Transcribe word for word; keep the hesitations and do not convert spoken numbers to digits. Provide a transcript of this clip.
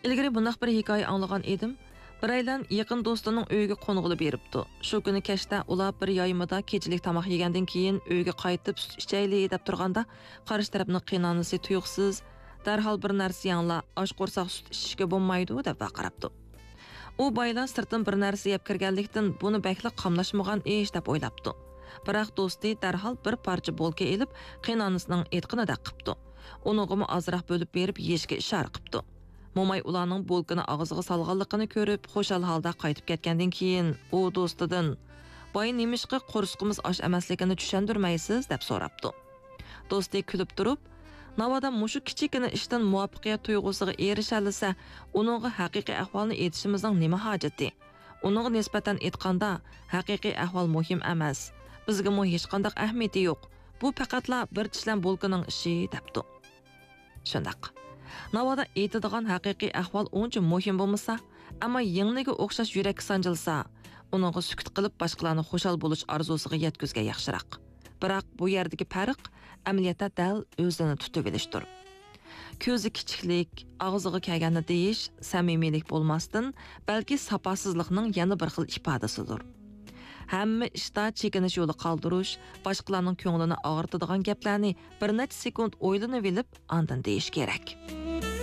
ئىلگىرى بۇنداق بىر ھېكايە ئاڭلىغان ئىدىم. بىرەيلەن يېقىن دوستىنىڭ ئۆيىگە قونغىلى بېرىپتۇ. شۇ كۈنى كەچتە ئۇلار بىر يايمىدا كېچىلىك تاماق يېگەندىن كېيىن ئۆيگە قايتىپ سۈت ئىچەيلى دەپ تۇرغاندا، قارشى تەرەپنىڭ قېيىنئانىسى تۇيۇقسىز، «دەرھال بىر نەرسە يەڭلا، ئاچ قورساق سۈت ئىچىشكە بولمايدۇ» دەپ ۋارقىراپتۇ. ئۇ بايلا سىرتتىن بىر نەرسە يەپ كىرگەنلىكتىن، بۇنى بەكلا قاملاشمىغان ئىش دەپ ئويلاپتۇ. بىراق دوستى دەرھال بىر پارچە بولكا ئېلىپ، قېيىنئانىسىنىڭ ئېيتقىنىدەك قىپتۇ. ئۇنىڭغىمۇ ئازراق بۆلۈپ بېرىپ يېيىشكە ئىشارە قىپتۇ. موماي ئۇلارنىڭ بولكىنى ئاغزىغا سالغانلىقىنى كۆرۈپ، خۇشال ھالدا قايتىپ كەتكەندىن كېيىن، ئۇ دوستىدىن، «باي نېمىشقا قورسىقىمىز ئاچ ئەمەسلىكىنى چۈشەندۈرمەيسىز؟» دەپ سوراپتۇ. دوستى كۈلۈپ تۇرۇپ، «ناۋادا مۇشۇ كىچىككىنە ئىشتىن مۇۋەپپەقىيەت تۇيغۇسىغا ئېرىشەلىسە، ئۇنىڭغا ھەقىقىي ئەھۋالنى ئېيتىشىمىزنىڭ نېمە ھاجىتى؟ ئۇنىڭغا نىسبەتەن ئېيتقاندا، ھەقىقىي ئەھۋال مۇھىم ئەمەس. بىزگىمۇ ھېچقانداق ئەھمىيىتى يوق. بۇ پەقەتلا بىر چىشلەم بولكىنىڭ ئىشى» دەپتۇ. شۇنداق. ناۋادا ئېيتىدىغان ھەقىقىي ئەھۋال ئۇنچە مۇھىم بولمىسا، ئەمما يىڭنىگە ئوخشاش يۈرەككە سانجىلسا، ئۇنىڭغا سۈكۈت قىلىپ باشقىلارنى خۇشال بولۇش ئارزۇسىغا يەتكۈزگەن ياخشىراق. بىراق بۇ يەردىكى پەرق ئەمەلىيەتتە دەل ئۆزىنى تۇتۇۋېلىشتۇر. كۆزى كىچىكلىك، ئاغزىغا كەلگەننى دېيىش سەمىمىيلىك بولماستىن، بەلكى ساپاسىزلىقنىڭ يەنە بىر خىل ئىپادىسىدۇر. ھەممە ئىشتا چېكىنىش يولى قالدۇرۇش، باشقىلارنىڭ كۆڭلىنى ئاغرىتىدىغان گەپلەرنى بىر نەچچە سېكۇنت ئويلىنىۋېلىپ، ئاندىن دېيىش كېرەك.